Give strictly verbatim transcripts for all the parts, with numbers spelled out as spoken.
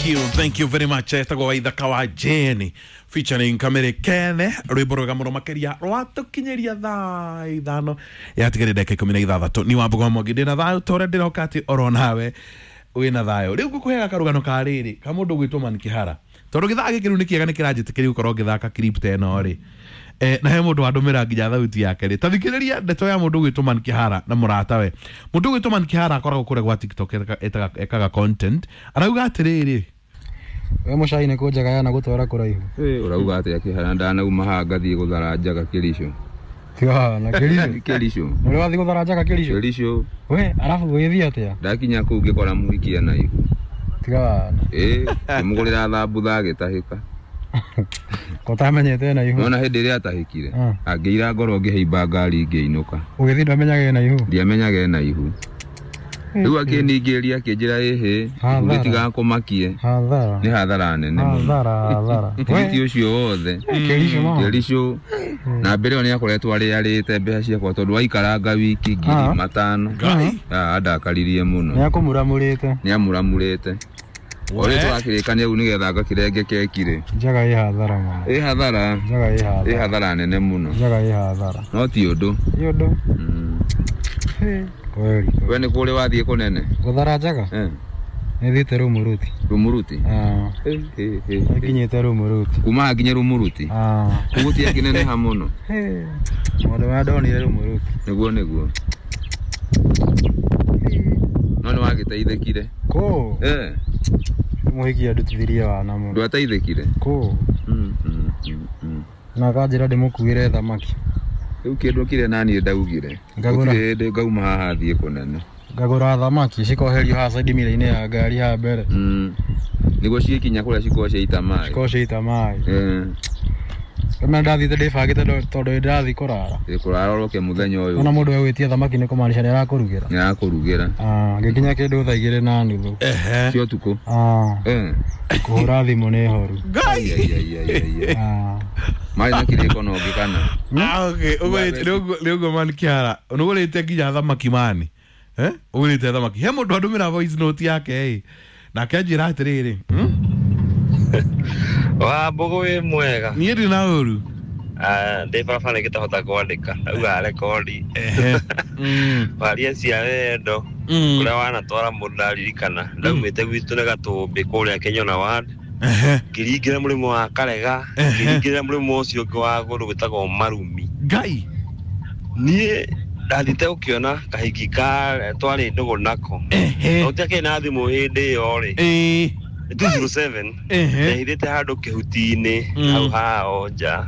Thank you, thank you very much. Etagwo Waithaka wa Jane featuring Kamere Kene rwimbo rwega muno makiria rwatukinyiria thaa ithano yatigarire ndagika ikumi na ithathatũ. Ni Wambugu wa Mwangi ndina thayo tore ndiroka ati oro nawe wina thayo. Riu ngukuheaga karugano ka riri ka mundu gwitwo Man Kihara tondu githaa giki riu ni kiega ni kiranjitikiria gukorwo ngithaka clip ta ĩno ri. Eh, na he mundu wandumira nginya thauti yake ri. Tathikiriria ndeto ya mundu gwitwo Man Kihara na muratawe. Mundu gwitwo Man Kihara akoragwo kuria gwa TikTok ekaga content. Arauga atiriri, we mucai nĩ kũnjaga yana gũtwara kũraihu. Eh, urauga atia Kihara? Ndanauma haha ngathiĩ gũthara njaga Kericho. Tiga na Kericho. Kericho. Nĩ wathiĩ gũthara njaga Kericho? Kericho. We, arabu wĩthiĩ atĩa? Ndakinya kũu ngĩkora mũhiki ena ihu. Tiga. Eh, ngĩmũgũrĩra thambutha agĩtahĩka. Kotamenyete ena ihu. Nona hĩndĩ ĩrĩa atahĩkire angĩira ngoro ngĩhaimba ngari ngĩinũka. Ũgĩthiĩ ndwamenyaga ena ihu? Ndiamenyaga ena ihu. Rĩu akĩningĩrĩria akĩnjĩra ĩhĩ gĩtigakũmakie. Hathara. Nĩ hathara nene mũno. Hathara, hathara. Tigiti ũcio wothe. Kericho ma. Kericho. Na mbere ĩyo nĩakoretwo arĩarĩte mbeca ciakwa tondũ waikaranga wiki ngiri matano. Ah, andakaririe mũno. Nĩakũmuramũrĩte. Nĩamuramũrĩte. Ũrĩa tũrakĩrĩkania rĩu nĩgetha ngakĩrenge keki rĩ. Njaga ĩ hathara mũno. Ĩ hathara. Njaga ĩ hathara. Ĩ hathara nene mũno. Njaga ĩ hathara. No ti ũndũ. Ti ũndũ. Kweli. We nĩ kũrĩ wathiĩ kũnene? Gũthara njaga? Eh. Nĩthiĩte Rumuruti. Rumuruti? Ah. Nĩnginyĩte Rumuruti. Kuma haha nginya Rumuruti? Ah. Kũu gũtiakĩneneha mũno? Maũndũ marĩa ndonire Rumuruti. Nĩguo nĩguo. No nĩwagĩteithĩkire? Kũ? Eh. Mũhiki andutithirie wana mũno. Ndwateithĩkire? Kũ? Mm, mm, mm, mm. Na akanjĩra ndĩmũkuĩre thamaki. Rĩu kĩndũ kĩrĩa naniĩ ndaugire. Ngagũra. Gũtirĩ hĩndĩ ngauma haha thiĩ kũnene. Ngagũra thamaki cikoherio haha side mirror-inĩ ya ngari haha mbere. Mm. Nĩguo ciĩkinya kũrĩa cikoragwo ciaita maĩ. Cikoragwo ciaita maĩ. Eh. Kama ndathiĩte ndĩbangĩte tondũ nĩndĩrathiĩ kũrara. Ĩ kũrara ũroke mũthenya ũyũ. Ona mũndũ egwĩtia thamaki nĩ kũmaanisha nĩarakũrugĩra. Nĩarakũrugĩra. Ah, ngĩkinya kĩndũ thaa igĩrĩ na nuthu. Ehe. Cia ũtukũ. Ah. Eh. Kũhũra thimũ nĩ horu. Ngai. Ah. Marĩ na kĩrĩko na ũngĩ kana? Ah, okay. Ũguo nĩũguo Man Kihara. Nĩũgũrĩte nginya thamaki mani. Eh? Ũgũrĩte thamaki. He mũndũ andũmĩra voice note yake ĩ. Nake anjĩra atĩrĩrĩ. Wambugu wĩ mwega. Niĩ ndĩ na ũru. Ah, ndĩ barabara ngĩtahota kwandĩka. Ndauga rekondi. Waria cia wendo. Kũrĩa wanatwara mũndũ ndaririkana. Ndaumĩte gwitũ nĩ Gatũmbĩ kũrĩa Kĩnyona ward. Ngĩringĩra mũrĩmo wa Karega, ngĩringĩra mũrĩmo ũcio ũngĩ wa kũndũ gwĩtagwo Marumi. Ngai. Niĩ ndathiĩte gũkĩona kahiki ka twarĩ ndũgũ nako. Gũtiakĩrĩ na thimũ hĩndĩ ĩyo rĩ. Ĩĩ. two zero seven. Ndehithĩte handũ kĩhuti-inĩ hau hao nja.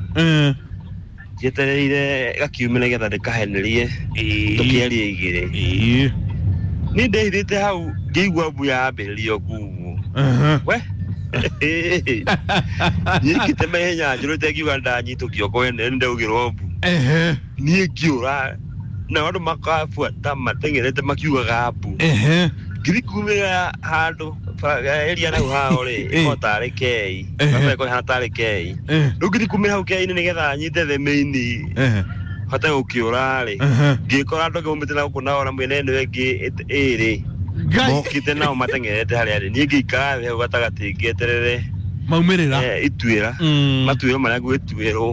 Njetereire gakiume nĩgetha ndĩkahenerie tũkĩarie igĩrĩ. Niĩ ndehithĩte hau ngĩigua mbu yambĩrĩria kugwo. We nyikĩte mahenya njũrĩte ngiuga ndanyitũkio kwene nĩndaugĩrwo mbu. Niĩ ngĩũra na andũ makabuata mateng'erete makiugaga mbu. Ngĩthiĩ kumĩra handũ area nau hao rĩ ĩkoragwo tarĩ kei barabara ĩkoragwo ĩhana tarĩ kei. Rĩu ngĩthiĩ kumĩra hau kei-inĩ nĩgetha nyite the main hote gũkĩũra rĩ ngĩkora andũ angĩ maumĩte na gũkũ nao na mwena ĩno ĩngĩ ĩrĩ mokĩte nao mateng'erete harĩa rĩ. Niĩ ngĩikara thĩ hau gatagatĩ ngĩeterere maumĩrĩra ituĩra matuĩro marĩa ngwĩtuĩrwo.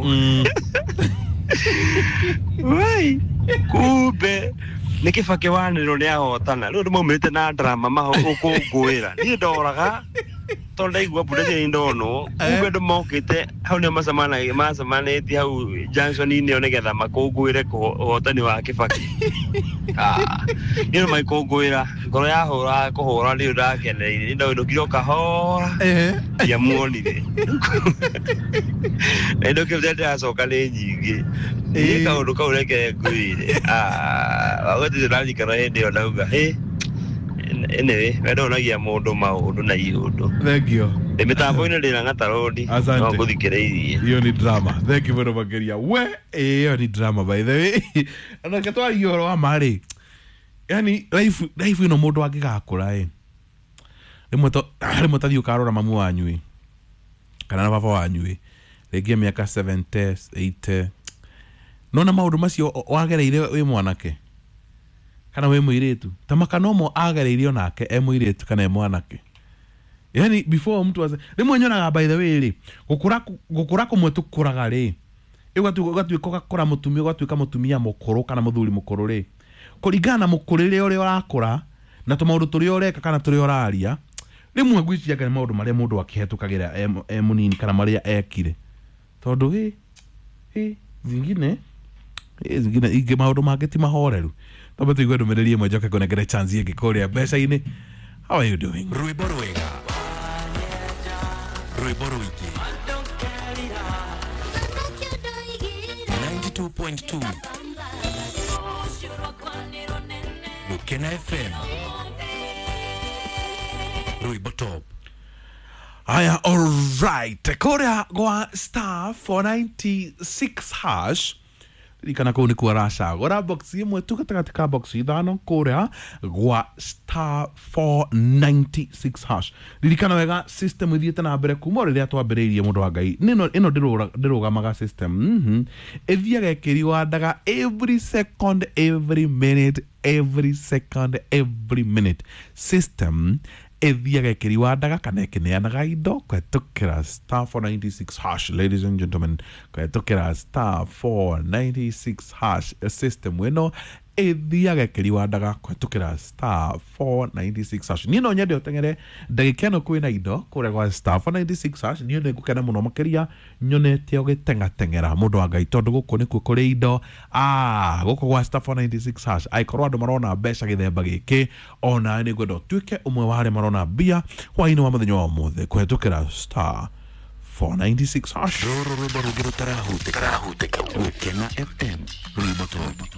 Wai kumbe nĩ Kĩbakĩ wanĩrĩrwo nĩ ahotana. Rĩu andũ maumĩrĩte na drama gũkũngũĩra. Niĩ ndoraga tondũ ndaigua mbu ndarĩ ndonwo. Kumbe andũ mokĩte hau nĩo macemanĩtie hau junction-inĩ ĩyo nĩgetha makũngũĩre ũhotani wa Kĩbakĩ. Ah, niĩ magĩkũngũĩra ngoro yahũra kũhũra nĩ ndakeneire. Niĩ ndainũkire o kahora ndiamuonire. Ndainũkire ndĩracoka nĩ nyingĩ. Niĩ kaũndũ kau reke ngwĩre. Ah, gũtirĩ ndaririkana hĩndĩ ĩyo ndauga hĩ anyway we ndonagia mũndũ maũndũ na iũndũ. Thank you. Ndĩ mĩtambo-inĩ ndĩna gatarũndi no ngũthikĩrĩirie. Hiyo ni drama. Thank you very much Mageria. We hiyo ni drama by the way. Na ketwari ũhoro wa ma rĩ. Yani life life ĩno mũndũ angĩgakũra ĩ. Rĩmwe to rĩmwe tathiĩ ũkarora mamu wanyu ĩ. Kana na baba wanyu ĩ. Rĩngĩ mĩaka seventy, eighty. Nona maũndũ macio wagereire wĩ mwanake kana wĩ mũirĩtu ta makanomo agereirio nake e mũirĩtu kana e mwanake. Yani before mtu aze rĩmwe nyonaga by the way rĩ gũkũra gũkũra kũmwe tũkũraga rĩ ũgatuĩka ũgakũra mũtumia ũgatuĩka mũtumia mũkũrũ kana mũthuri mũkũrũ rĩ kũringana na mũkũrĩre ũrĩa ũrakũra na tũmaũndũ tũrĩa ũreka kana tũrĩa ũraria rĩmwe ngwĩciria nĩ maũndũ marĩa mũndũ akĩhetũkagĩra e mũnini kana marĩa ekire tondũ ĩ ĩ zingine ĩ zingine ingĩ maũndũ mangĩ ti mahoreru. Twambe tũigue ndũmĩrĩri ĩmwe njoke ngũnengere chance ĩngĩ kũrĩa mbeca-inĩ. How are you doing? Rwĩmbo rwega, rwĩmbo rũingĩ, ninety-two point two Gukena F M, Rwĩmbo Top. Aya, all right. Kũrĩa gwa star four ninety-six hash ririkana kũu nĩkuo aracagũra box ĩmwe tu gatagatĩ ka box ithano kũrĩa gwa star four ninety-six hash. Ririkana wega system ithiĩte na mbere kuma rĩrĩa twambĩrĩirie mũndũ wa Ngai nĩno ĩno ndĩrũgamaga system mm-hmm. Ĩthiaga ĩkĩriwandaga every second, every minute, every second, every minute. System ĩthiaga ĩkĩriwandaga kana ĩkĩneanaga indo kũhetũkĩra star four ninety-six hash. Ladies and gentlemen, kũhetũkĩra star four ninety-six hash system ĩno ĩthiaga ĩkĩriwandaga kũhetũkĩra star four ninety-six hash. Niĩ no nyende ũteng'ere ndagĩka ĩno kwĩna indo kũrĩa gwa star four ninety-six hash. Niĩ nĩ ngũkena mũno makĩria nyonete ũgĩteng'ateng'era mũndũ wa Ngai tondũ gũkũ nĩkuo kũrĩ indo. Ah, gũkũ gwa star four ninety-six hash angĩkorwo andũ marona mbeca gĩthemba gĩkĩ ona nĩ ngwenda ũtuĩke ũmwe wa arĩa marona mbia hwaĩ-inĩ wa mũthenya wa ũmũthĩ kũhetũkĩra star four ninety-six hash. Rũrũ rwĩmbo rũngĩ rũtarahutĩka Gukena F M, Rwĩmbo Top.